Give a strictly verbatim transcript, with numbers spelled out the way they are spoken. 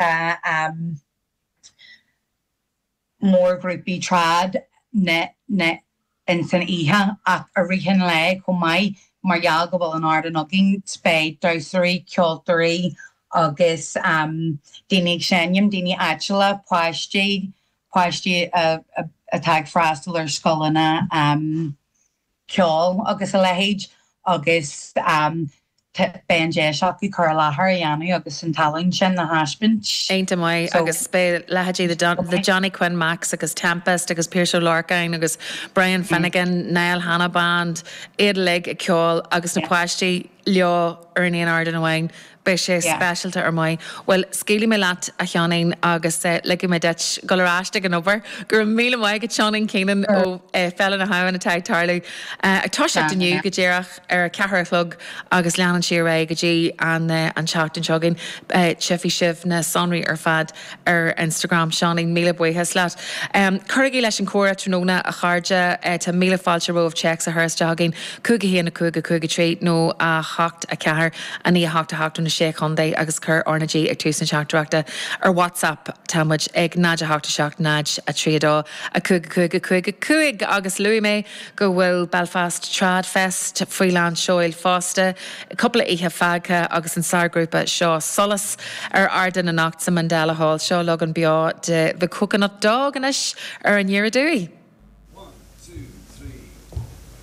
Tá um, mórghrúpaí trad na na in san oíche ach i rith an lae chomh maith mar gheall go bhfuil an ardán againn beidh damhsóirí ceoltóirí agus um, daoine ag seinm daoine áitiúla páistí páistí atá ag freastal ar scoileanna um, ceoil agus a leithéid agus um, beidh an deis acu cur i láthair a dhéanamh agus an tallann sin a thaispeáint. Iontach maith agus beidh leithéidí the Johnny Quinn Max agus Tempest agus Pearse Lorcain agus Brian Finnegan, Niall Hanna Band, iad uilig ag ceol agus na páistí leo ar an aon ardán amháin. Beidh sé speisialta ar maith. Well scaoilfidh mé leat a Sheáinín agus uh, ligfidh mé duit dul ar ais ag an obair, gur míle maith agat Seáinín Keenan ó uh, Féile na hAbhann atá ag tarlú. Uh, ag toiseacht inniu go díreach ar a ceathair a chlog agus leanann sí ré go dtí an uh, an tseachtain seo chugainn uh, tchífidh sibh na sonraí ar fad ar Instagram Seáinín míle buíochas leat. Um, Cuirigí leis an chomhrá tráthnóna a chairde uh, tá míle fáilte romhaibh téacs a chur isteach chugainn cúig a haon a cúig a cúig a trí nó a hocht a ceathair a naoi a hocht a hocht na sé chontae agus cuir R na G ag tús na teachtaireachta ar WhatsApp tá muid ag náid a hocht a seacht náid a trí dó a cúig cúig cúig cúig agus luaigh mé go bhfuil Belfast Trad Fest faoi lán seoil fosta, cúpla oíche fágtha agus an sárghrúpa seo Solas ar ardán anocht sa Mandela Hall seo leagan beo de The Coconut Dog anois ar an deireadh.